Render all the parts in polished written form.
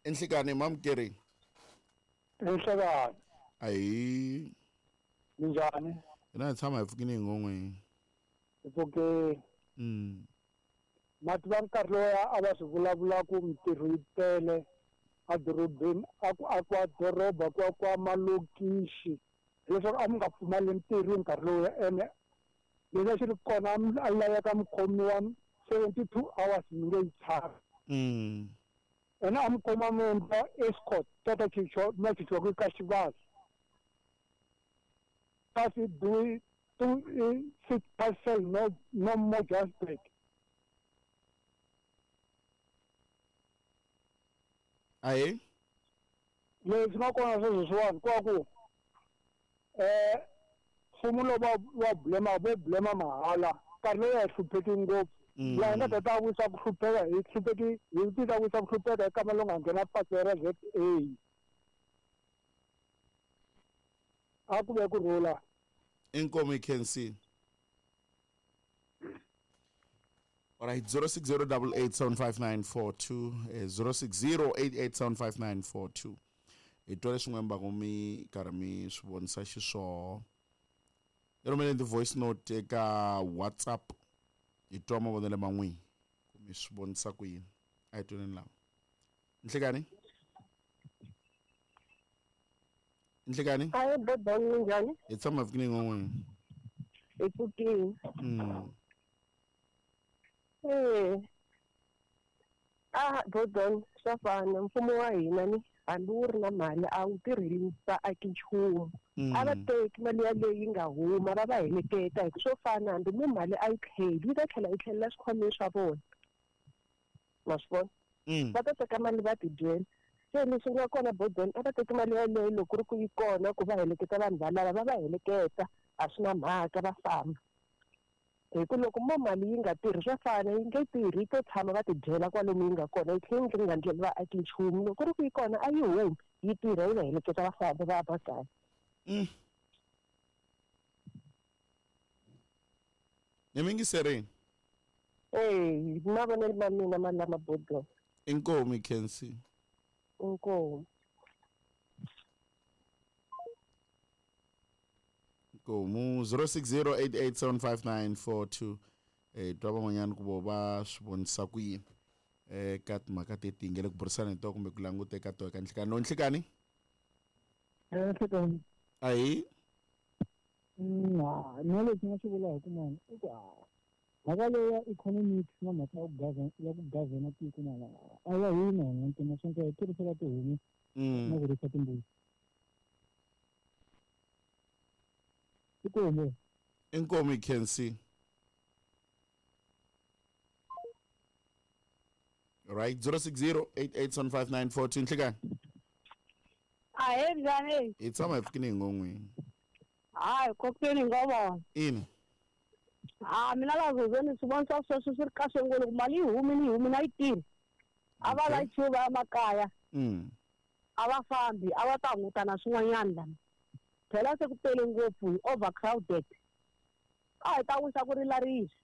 Enhlekani mamukeri. Enhlekani. Ayi. Minjhani? Hina hi tshama hi pfukile hi ngon'weni. Hi pfukile. Ma tiva nkarhi lowuya a va swi vulavula ku mintirho yi tele edorobeni, a ku akiwa doroba, ku akiwa malokixi, hileswaku a mi nga pfumali ntirho hi nkarhi lowuya. Ene lexi a xi ri kona a laveka mi khomiwa 72 hours mi nge yi chavi. Ene a mi kuma mi endla escort ta chichiwa ma chichiwa ku ka xivavi. Kasi do two six parcel no no more Johannesburg. Ahe. Leswi nga kona sweswiwani ku va ku mfumo lowu va blame vo blame mahala nkarhi lowu a hi hlupheki ngopfu. Laha hi nga ta ta wisa ku hlupheka hi hlupheki hi ti ta wisa ku hlupheka hi kama lowu nga nghena patu ra ZA. A ku ve ku rhula. Inkomu can see. All right, 060887594 060887594. Hi twa leswi n'we mbangu mi karhi mi swi vonisa xiswona. Hi rhumeleni ti-voice note eka WhatsApp hi twa mavonelo ma n'wina ku mi swi vonisa ku yini. A hi twaneni lava. Nhlekani? Nhlekani? Ayi bobani, minjhani? Hi tshama hi pfukile ngon'weni. Hi pfukile. A Bodon, swa fana mfumo wa hina ni hambi wu ri na mali a wu tirheli vaaki nchumu. A va teki mali yaleyo yi nga huma va va heleketa hi ku swo fana hambi mu mali a yi tlheli yi ta tlhela yi tlhelela swikhwameni swa vona. Ma swi vona? Va ta teka mali va tidyela. Se leswi nga kona Bodon, a va teki mali yaleyo loko ku ri ku yi kona ku va heleketa vanhu valava va va heleketa a swi na mhaka va famba. Hi ku loko mo mali yi nga tirhi swa fana yi nge tirhi yi to tshama va tidyela kwalomu yi nga kona yi tlhela yi nga ndleli vaaki nchumu. Loko ku ri ku yi kona a yi humi yi tirha yi va heleketa va famba va ya makaya. Ni mingiserini. Mavonelo ma mina ma lama Bodon. Inkomu Khensi. Inkomu. Inkomu 0608875942. Twa van'wanyana ku vo va swi vonisa ku yini ka timhaka teti hi nge le ku burisana hi tona kumbe ku languta eka tona eka nhlikani. Lowu nhlikani? Nhlikani. Ahi. Mina lexi nga xi vulaka ku mani i ku mhaka leyi ya economics na mhaka ya ku govern, ya ku govern tiko mani a ya hina hina ntsena swi hi tirhisela tihomu na ku risa timbuti. Inkomu. Inkomu Khensi. Right, 0608875942. Nhlikani. Ahe njhani? Hi tshama hi pfukile hi ngon'wini. Hayi, kokweni nga vona. Ina. Mina la zozeni swi vonisa sweswo swi ri kahle ngopfu loko mali yi humile yi humile a yi tirhi. A va layichiwi va ya makaya. A va fambi, a va ta hunguta na swin'wanyana lana. Phela se ku tele ngopfu hi overcrowded. A hi ta wisa ku rila risa.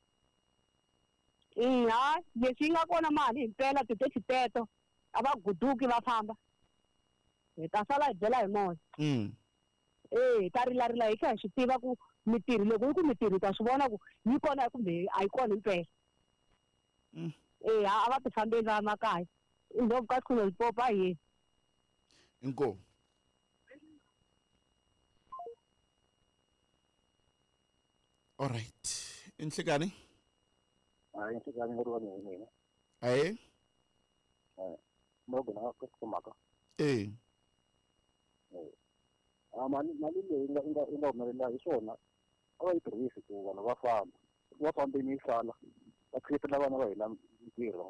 Hayi, leswi yi nga kona mali himpela ti-taxi teto a va guduki va famba. Hi ta sala hi byela hi moya. Hi ta rila rila hi kha hi swi tiva ku mitirho loko yi ku mitirho hi ta swi vona ku yi kona kumbe a yi kona himpela. A va ti fambeli va ya makaya. I ndlopfu ka Xikhundla Limpopo a hi yeni. Inkomu. All right. Inhlekani? Hayi, inhlekani ngori wa mina. Ahe? Mo gona ka mhaka. Mali leyi nga humelela hi swona a va yi tirhisi ku vanhu va famba. Va fambini yi sala va create-ela vana va hina mintirho.